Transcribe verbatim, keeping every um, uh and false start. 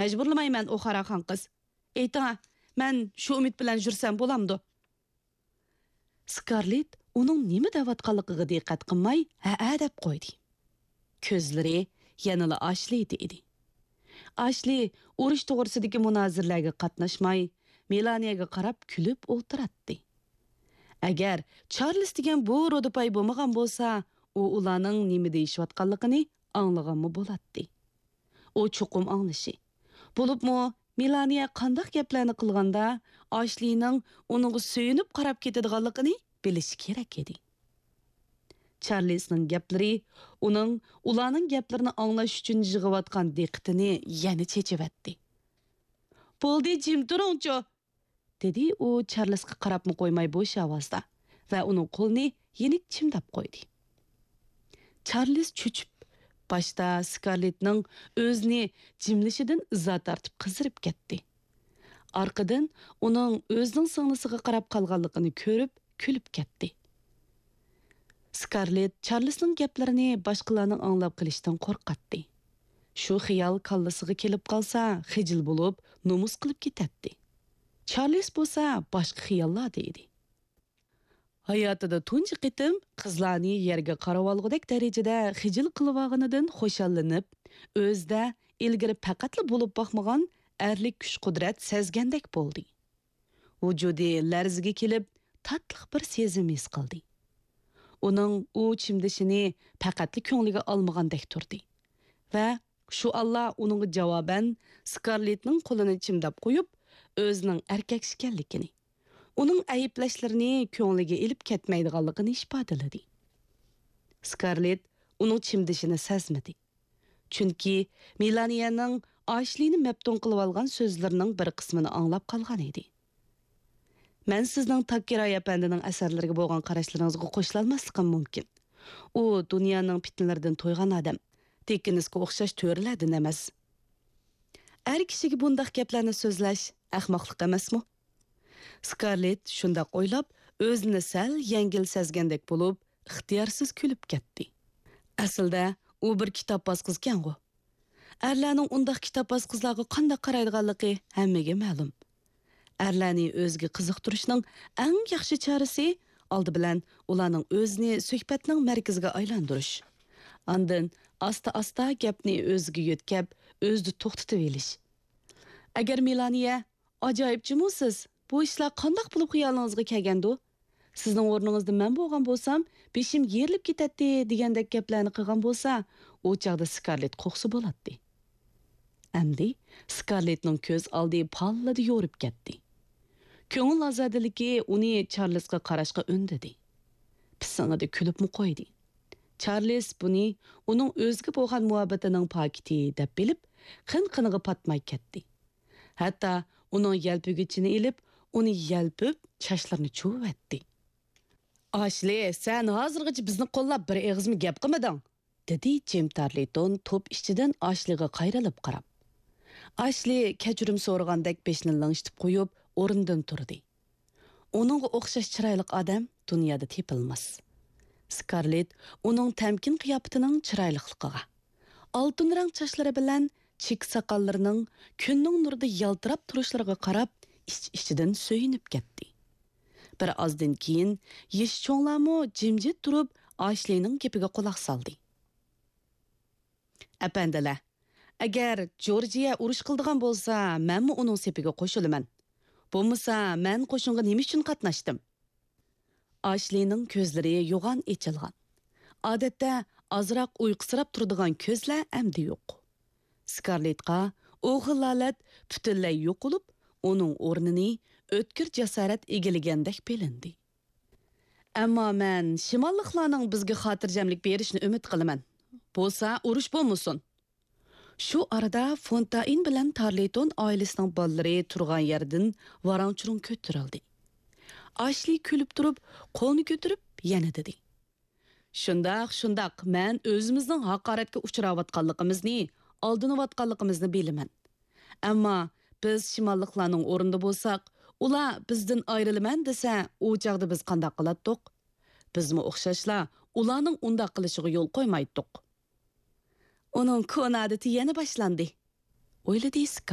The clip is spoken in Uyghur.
مەجبۇرلىمايمەن، ئوخارا خان قىز. ئېيتىڭا، مەن شۇ ئۈمىد بىلەن يۈرسەم بولامدۇ؟ سكارلېت ئۇنىڭ نېمە دەۋاتقانلىقىغا دىققەت قىلماي، ھەئە دەپ قويدى. كۆزلىرى يەنىلا ئاشلىدا ئىدى. ئاشلى ئۇرۇش توغرىسىدىكى مۇنازىرىلەرگە قاتناشماي، مېلانىيەگە قاراپ كۈلۈپ ئولتۇراتتى. ئەگەر چارلىز دېگەن بۇ رۇدىپاي بولمىغان بولسا، ئۇ ئۇلارنىڭ نېمە دېيىشىۋاتقانلىقىنى ئاڭلىغانمۇ بولاتتى. ئۇ چوقۇم ئاڭلىشى، بولۇپمۇ مېلانىيە قانداق گەپلەرنى قىلغاندا، ئاشلىنىڭ ئۇنىڭغا سۆيۈنۈپ قاراپ كېتىدىغانلىقىنى بىلىشى كېرەك ئىدى. چارلىزنىڭ گەپلىرى ئۇنىڭ ئۇلارنىڭ گەپلىرىنى ئاڭلاش ئۈچۈن يىغىۋاتقان دىققىتىنى يەنە چېچىۋەتتى. بولدى، جىم تۇرۇڭچۇ! دېدى ئۇ چارلىزغا قاراپمۇ قويماي بوش ئاۋازدا ۋە ئۇنىڭ قولىنى يېنىك چىمداپ قويدى. چارلىز چۆچۈپ، باشتا سكارلېتنىڭ ئۆزىنى جىملىشىدىن ئىزا تارتىپ قىزىرىپ كەتتى. ئارقىدىن ئۇنىڭ ئۆزىنىڭ سىڭلىسىغا قاراپ قالغانلىقىنى كۆرۈپ كۈلۈپ كەتتى. سكارلېت چارلىزنىڭ گەپلىرىنى باشقىلارنىڭ ئاڭلاپ قېلىشىدىن قورقاتتى. شۇ خىيال كاللىسىغا كېلىپ قالسا، خىجىل بولۇپ، نومۇس قىلىپ كېتەتتى. چارلىز بولسا باشقا خىياللاردا ئىدى. ھاياتىدا تۇنجى قېتىم قىزلارنى يەرگە قارىۋالغۇدەك دەرىجىدە خىجىل قىلىۋالغىنىدىن خۇشاللىنىپ، ئۆزىدە ئىلگىرى پەقەتلا بولۇپ باقمىغان ئەرلىك كۈچ-قۇدرەت سەزگەندەك بولدى. ۋۇجۇدى لەرزىگە كېلىپ، تاتلىق بىر سېزىم ھېس قىلدى. ئۇنىڭ ئۇ چىمدىشىنى پەقەتلا كۆڭلىگە ئالمىغاندەك تۇردى ۋە شۇ ئاللا ئۇنىڭغا جاۋابەن سكارلېتنىڭ قولىنى چىمداپ قويۇپ، ئۆزىنىڭ ئەركەك ئىكەنلىكىنى، ئۇنىڭ ئەيىبلەشلىرىنى كۆڭلىگە ئېلىپ كەتمەيدىغانلىقىنى ئىپادىلىدى. سكارلېت ئۇنىڭ چىمدىشىنى سەزمىدى. چۈنكى مېلانىيەنىڭ ئاشلىنى مەپتۇن قىلىۋالغان سۆزلىرىنىڭ بىر قىسمىنى ئاڭلاپ قالغان ئىدى. مەن سىزنىڭ تاككىراي ئەپەندىنىڭ ئەسەرلىرىگە بولغان قاراشلىرىڭىزغا قوشۇلالماسلىقىم مۇمكىن. ئۇ دۇنيانىڭ پىتنىلىرىدىن تويغان ئادەم، دىككېنسقا ئوخشاش تۆرىلەردىن ئەمەس. ئەر كىشىگە بۇنداق گەپلەرنى سۆزلەش ئەخمەقلىق ئەمەسمۇ؟ سكارلېت شۇنداق ئويلاپ، ئۆزىنى سەل يەڭگىل سەزگەندەك بولۇپ، ئىختىيارسىز كۈلۈپ كەتتى. ئەسلىدە ئۇ بىر كىتابپاز قىزكەنغۇ. ئەرلەرنىڭ ئۇنداق كىتابپاز قىزلارغا قانداق قارايدىغانلىقى ھەممىگە مەلۇم. ئەرلەرنى ئۆزىگە قىزىقتۇرۇشنىڭ ئەڭ ياخشى چارىسى، ئالدى بىلەن ئۇلارنىڭ ئۆزىنى سۆھبەتنىڭ مەركىزىگە ئايلاندۇرۇش. ئاندىن ئاستا-ئاستا گەپنى ئۆزىگە يۆتكەپ، ئۆزىدە توختىتىۋېلىش. ئەگەر مېلانىيە، «ئاجايىپ جۇمۇ سىز، بۇ ئىشلار قانداق بولۇپ خىيالىڭىزغا كەلگەندۇ؟ سىزنىڭ ئورنىڭىزدا مەن بولغان بولسام، بېشىم يېرىلىپ كېتەتتى» دېگەندەك گەپلەرنى قىلغان بولسا، ئۇ چاغدا سكارلېت قورقسا بولاتتى. ئەمدى سكارلېتنىڭ كۆز ئالدى پاللىدە يورۇپ كەتتى. كۆڭۈل ئازادىلىكى ئۇنى چارلىزغا قاراشقا ئۈندىدى. پىسىڭىدە كۈلۈپمۇ قويدى. چارلىز بۇنى ئۇنىڭ ئۆزىگە بولغان مۇھەببىتىنىڭ پاكىتى دەپ بىلىپ، قىن-قىنىغا پاتماي كەتتى. ھەتتا ئۇنىڭ يەلپۈگۈچىنى ئېلىپ، ئۇنى يەلپۈپ، چاچلىرىنى چۇۋۇۋەتتى. «ئاشلى، سەن ھازىرغىچە بىزنى قوللاپ بىر ئېغىزمۇ گەپ قىلمىدىڭ»، دېدى جىم تارلىتون توپ ئىچىدىن ئاشلىغا قايرىلىپ قاراپ. ئاشلى كەچۈرۈم سورىغاندەك بېشىنى لىڭشىتىپ قويۇپ، ئورنىدىن تۇردى. ئۇنىڭغا ئوخشاش چىرايلىق ئادەم دۇنيادا تېپىلماس. سكارلېت ئۇنىڭ تەمكىن قىياپىتىنىڭ چىرايلىقلىقىغا، ئالتۇن رەڭ چاچلىرى بىلەن چېكە ساقاللىرىنىڭ كۈننىڭ نۇرىدا يالتىراپ تۇرۇشلىرىغا قاراپ، ئىچ-ئىچىدىن سۆيۈنۈپ كەتتى. بىر ئازدىن كېيىن يېشى چوڭلارمۇ جىمجىت تۇرۇپ، ئاشلىنىڭ گېپىگە قۇلاق سالدى. ئەپەندىلەر، ئەگەر جورجىيە ئۇرۇش قىلىدىغان بولسا، مەنمۇ ئۇنىڭ سېپىگە قوشۇلىمەن. بولمىسا، مەن قوشۇنغا نېمە ئۈچۈن قاتناشتىم؟ ئاشلىنىڭ كۆزلىرى يوغان ئېچىلغان. ئادەتتە ئازراق ئۇيقۇسىراپ تۇرىدىغان كۆزلەر ئەمدى يوق. سكارلېتقا ئۇ خىل ھالەت پۈتۈنلەي يوقىلىپ، ئۇنىڭ ئورنىنى ئۆتكۈر جاسارەت ئىگىلىگەندەك بىلىندى. ئەمما مەن شىماللىقلارنىڭ بىزگە خاتىرجەملىك بېرىشىنى ئۈمىد قىلىمەن. بولسا ئۇرۇش بولمىسۇن. شۇ ئارىدا فونتائىن بىلەن تارلىتون ئائىلىسىنىڭ بالىلىرى تۇرغان يەردىن ۋاراڭ-چۇرۇڭ كۆتۈرۈلدى. ئاشلى كۈلۈپ تۇرۇپ، قولىنى كۆتۈرۈپ يەنە دېدى. شۇنداق، شۇنداق، مەن ئۆزىمىزنىڭ ھاقارەتكە ئۇچراۋاتقانلىقىمىزنى، ئالدىنىۋاتقانلىقىمىزنى بىلىمەن. ئەمما بىز شىماللىقلارنىڭ ئورنىدا بولساق، ئۇلار بىزدىن ئايرىلىمەن دېسە، ئۇ چاغدا بىز قانداق قىلاتتۇق؟ بىزمۇ ئوخشاشلا ئۇلارنىڭ ئۇنداق قىلىشىغا يول قويمايتتۇق. ئۇنىڭ كونا ئادىتى يەنە باشلاندى، ئويلىدى سكارلېت.